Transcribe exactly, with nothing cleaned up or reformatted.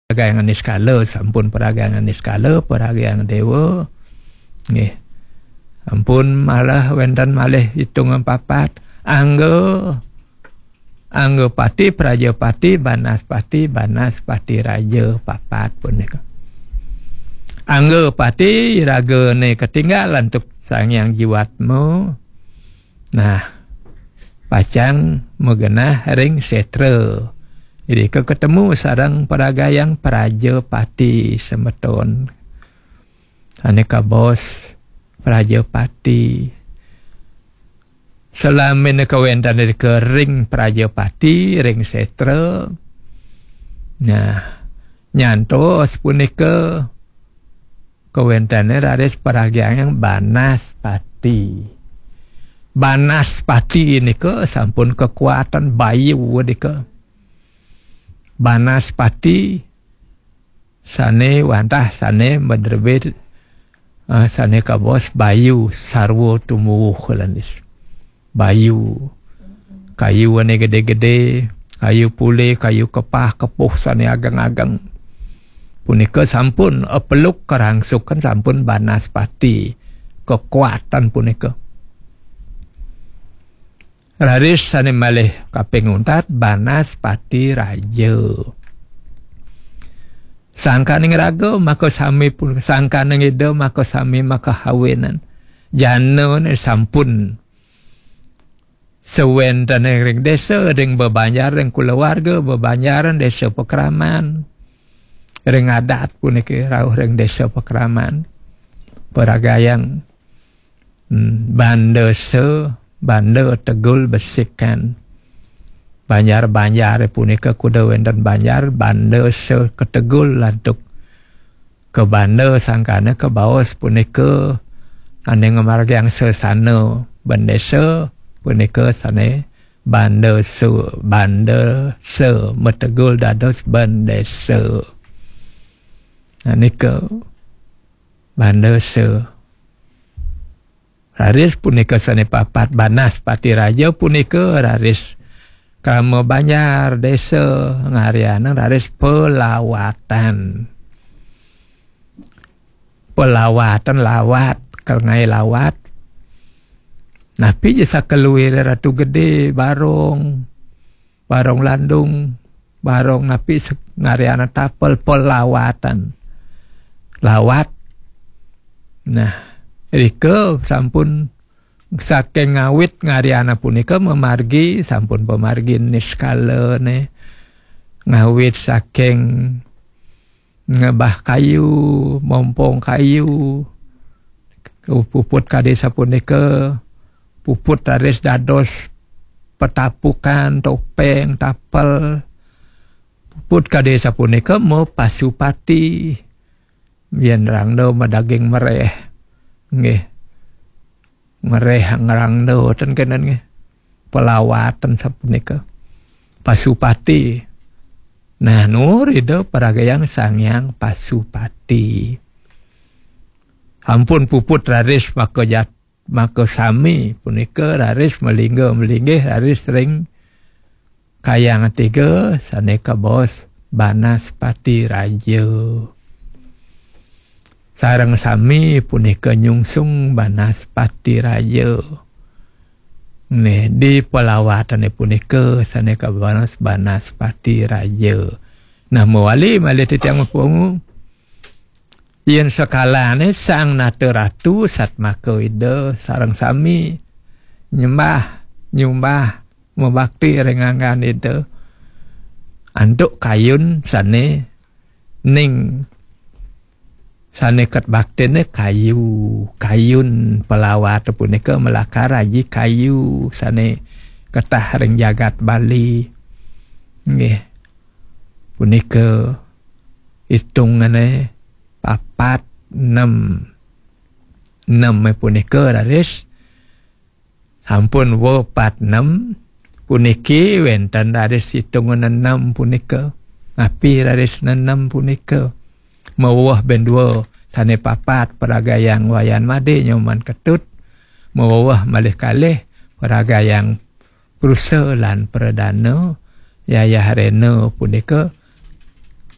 Paragayangan niskala, sampun paragayangan niskala, paragayangan dewa. Nggih. Ampun, malah wénten malih itungan papat. Angga, Angga Pati, Prajapati, Banaspati, Banaspati Raja papat punika. Angga Pati ragane ketinggal antuk Sang Hyang Jiwatma. Nah, pacang magenah ring sétra. Irika ketemu sareng paragayang Prajapati semeton. Sané kabaos Prajapati. Salamina kawéntenan irika ring Prajapati, ring sétra. Nah, nyantos punika kawéntenan raris paragayang Banaspati. Banaspati nika sampun kakuatan bayu nika. Banaspati sané wantah sané madrebé, eh, sané kabaos bayu sarwa tumuwuh, kalan is. Bayu. Kayu ané gedé-gedé, kayu pulé, kayu kepah, kepuh sané ageng-ageng. Punika sampun apeluk karangsukan sampun Banaspati. Kekuatan punika. Raris sané malih kaping untat Banaspati Raja. Sangkaning raga maka sami pun, sangkaning ida maka sami maka hawinan. Jana sampun sawéntené ring désa, ring bebanjar, ring kulawarga, bebanjaran, désa pakraman, ring adat puniki rauh ring désa pakraman. Paragayang, hmm, banda sa, banda tegul besikan. Banjar-banjar punika kuda wénten banjar, banda sa ketegul lantuk kabanda sangkana kabaos punika ané ngamargiang sesana bendésa punika sané banda sa, banda sa mategul dados bendésa. Nah, nika banda sa. Raris punika sané papat Banaspati Raja punika raris krama banjar désa ngarianang raris pelawatan. Pelawatan lawat, kal ngaé lawat. Napi ja sakeluir Ratu Gedé, Barong, Barong Landung, Barong napi se-, ngariana tapel pelawatan. Lawat. Nah, rika sampun saking ngawit ngariana punika mamargi, sampun pamargi niskala né. Ngawit saking ngebah kayu, mompong kayu, puput kadé sapunika, puput raris dados petapukan, topéng, tapel. Puput kadé sapunika mapasupati. Yén rangda madaging meréh. Nggih. Meréh ngrangda ten kénten nggih. Pelawatan sapunika. Pasupati. Nah, nur ida paragayang Sang Hyang Pasupati. Ampun puput raris maka jat-, maka sami punika raris malingga malinggih raris ring kayang tiga sané kabaos Banaspati Raja. Sareng sami punika nyungsung Banaspati Raja. Nih, di pelawatané punika sané kabaos Banaspati Raja. Nah, mawali malih titiang mapungu. Yén sekalané Sang Nata Ratu satmaka Ida sareng sami nyembah, nyumbah, mabakti ring anggan Ida. Antuk kayun sané ning sané ket baktiné kayu, kayun pelawat punika malakar aji kayu sané ketah ring jagat Bali. Nggih. Punika itungané papat, nem. Nem punika raris sampun wa pat nem, puniki wénten raris itungan enem punika. Napi raris nenem punika? Maweweh bén dua sané papat, paragayang Wayan Madé Nyoman Ketut, maweweh malih kalih paragayang Prusa lan Pradana Yayah Rena punika